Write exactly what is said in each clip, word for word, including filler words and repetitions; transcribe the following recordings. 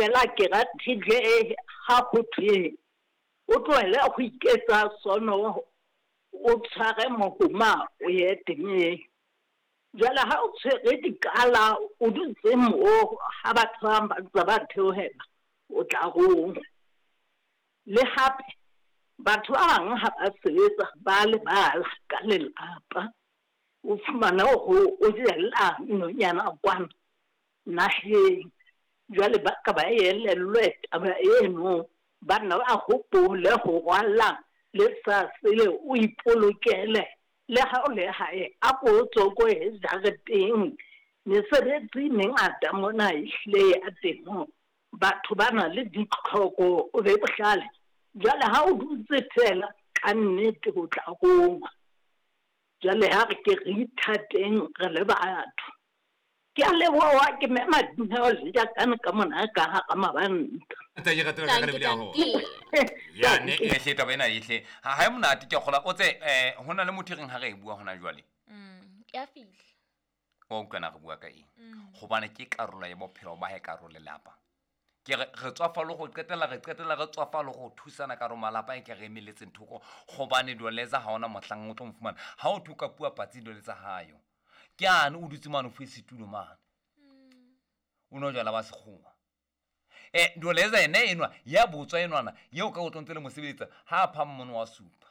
Fela ke ratile ha ho thwe o tlohele ho iketsa sono, o tshware mohoma o ye temeng. Jwale ha o tshwere dikala o dutse moo ha batho ba bang ba ntse ba theohela, o tla rongwa. Le hape batho ba bang ha ba sebetsa ba lebala ka lelapa. O fumane hore o jella nonyana kwana naheng. Jwale ba ka ba elellwe taba eno, banna ba hopole ho rwalla le sa sele o ipolokele. Le ha o le hae a ko tswe ko e jareteng. Mesebetsi e mengata mona ehlile ya temo. Batho ba na le ditlhoko, o be bohlale. Jwale ha o dutse fela ka nnete o tla rongwa. Jwale ha re ke re ithateng re le batho. Ke a leboha, ke mema Dineo le Jakane ka mona ka hara mabanta. Ntate, ke ratela ka Tanki, lebile haholo. tanki. Ya ne e hle taba ena e hle. Ha ha e monate ke a kgola o tse eh ho na le motho e reng ha re e bua hona jwale. Mm, ya fihla. Wa utlwa na re bua ka eng? Hobane ke karolo ya bophelo ba hae, karolo lelapa. Ke re re tswafa le ho qetela, re qetela re tswafa le ho thusana ka hare ho malapa e ke re emeletseng thoko. Hobane Doleza ha hona mohlang o tlo mo fumana. Ha o thoka puo patsi Doleza hayo. Ke ane o dutse mane o fuwe setulo mane. O no jwala ba sekgowa. Eh, Doleza ene enwa ya botswa enwana yeo ka o tlo ntse le mo sebeletsa ha a pha mmono wa supa.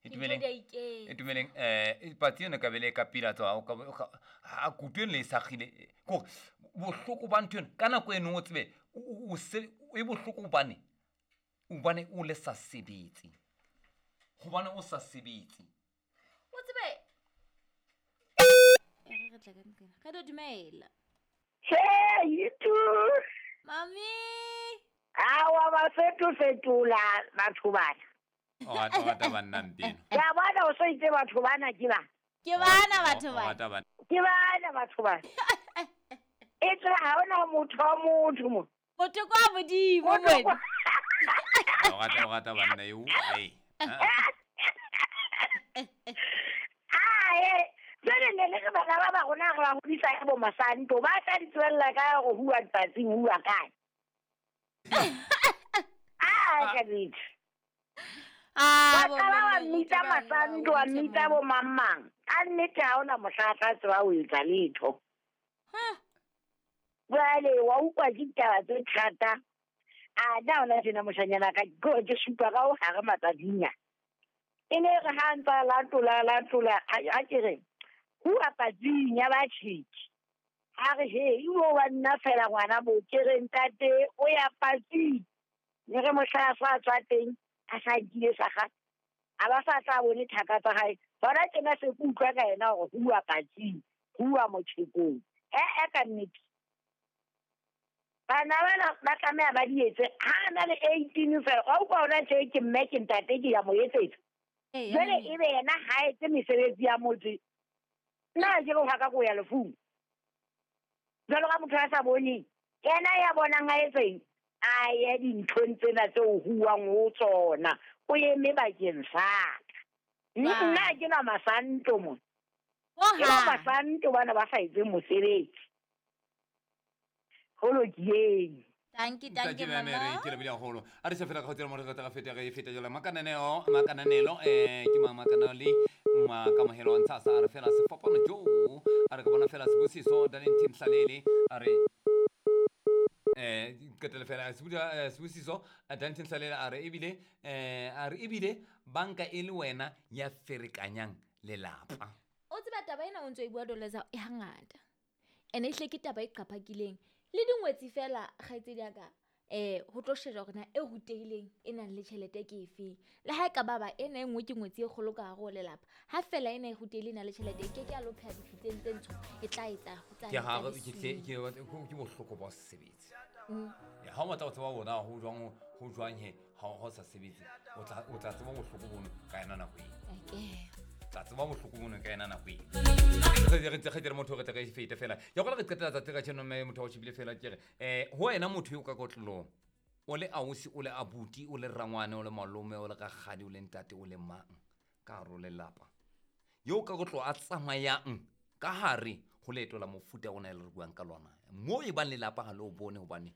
Itumeleng. Dintho di a iketsa. Itumeleng, eh, patsi eno ka bele ka pila tsa o ka o ka ha kutu eno le e sakgile. Kore bohloko ba ntho eno ka nako eno o tsebe o, o se e bohloko hobane hobane o le sa sebetse. Hobane o sa sebetse. O tsebe e re re tla ka nqena. Re tlo dumela. Hey, you too. Mami. Awa ba fetofetola batho bana. O rata, o rata banna mpeno. Ke a bona o so itse batho bana ke ba. Ke bana batho O bana. rata banna. Ke bana batho bana. E tswe ha hona motho wa motho mo. Motho kwa modimo Motho wena. kwa- O rata, o rata banna eo. Ei. Ah, eh. Jwale ne le re bana ba ba rona re ba hodisa ka bo masanto, ba tla di tswella ka hore huwa dipatsing, huwa kae. Ah, ka nnete. Ah, Wa bo qala wa mme, mmitsa motho ba masanto, wa nna, mmitsa bo mang mang. Ka nnete ha hona mohla a tla tseba ho etsa letho. Huh. Jwale wa utlwa ke ditaba tse thata. A na hona tjena moshanyana ka, ke hore ke supa ka ho hare matsatsing a. E ne re ha ntsa latola, latola, a, a ke re, huwa patsing ya ba tjheki. A re, he, ibo wa nna fela ngwana bo, ke re ntate, o ya patsing. Ne re mohla a sa tswa teng, a sa nkile sa gagwe. A ba sa tla bone thaka tsa hae. Hona tjena se ke utlwa ka yena hore huwa patsing, huwa motjhekong. Eh, eh, ka nnete. Bana bana ba tlameha ba di etse. Ha a na le eighteen fela, wa utlwa hona tje ke mme ke ntate ke ya mo etsetsa. Ee, Jwale ya ebe yena ha etse mesebetsi ya motse. Nna ke re ho ka ko ya lefung. Jwalo ka motho a sa boneng, yena ya bonang a etseng, a ye dinthong tsena tse o huwang ho tsona, o eme bakeng sa ka. Ba. Nna ha ke na masanto mona. Ho Ke ba hang. masanto bana ba sa etseng mosebetsi. Ho lokileng. Tanki, tanki, Ntate Meme, mama. re ke lebile haholo. A re se fela ka ho tsela mo re tla feta re feta jwale makananeo, makananelo, eh, ke mang makananelo le makamohelo a ntsha sa re fela sefapano jo. A re ka bona fela Sibusiso Darlington Hlalele, a re eh, qetelle fela, Sibuda, eh, Sibusiso Darlington Hlalele a re ebile, eh, a re ebile banka e le wena ya ferekanyang lelapa. O tseba taba ena o ntso e bua Doleza e hangata. Ene ehlile ke taba e qapakileng. Le dingwetsi fela kgaitsedi ya ka, eh, ho tlo shejwa hore na e rutehileng e nang le tjhelete ke efeng. Le ha e ka ba ba ena e nngwe ke ngwetsi e kgolo ka hare ho lelapa. Ha fela ena e rutehile e nang le tjhelete, e ke ke ya lo pheha dipitseng tse ntsho, e tla etsa ho tsa Ke ha re, le ke tle, siu. ke, ke, ke bohloko ba ho se sebetse. Mm. Ya, ha o batla ho tseba hore na ho jwang, ho jwang he, ha o sa sebetse, o tla, o tla tseba bohloko bono ka yona nako eo. Okay. Tla tseba bohloko bono ka yona nako eo. Re, re, re, re, motho re tle re fete fela. Ke gola re qetela tsatsi ka tjeno mme motho wa o shebile fela ke re, eh, ho wena motho eo ka kotlolong, o le ausi, o le abuti, o le rangwane, o le malome, o le rakgadi, o le ntate, o le mang ka hare ho lelapa. Eo ka kotlo a tsamayang ka hare ho leeto la mofuta ona e le re buang ka lona. Moo e bang lelapa ha le o bone hobane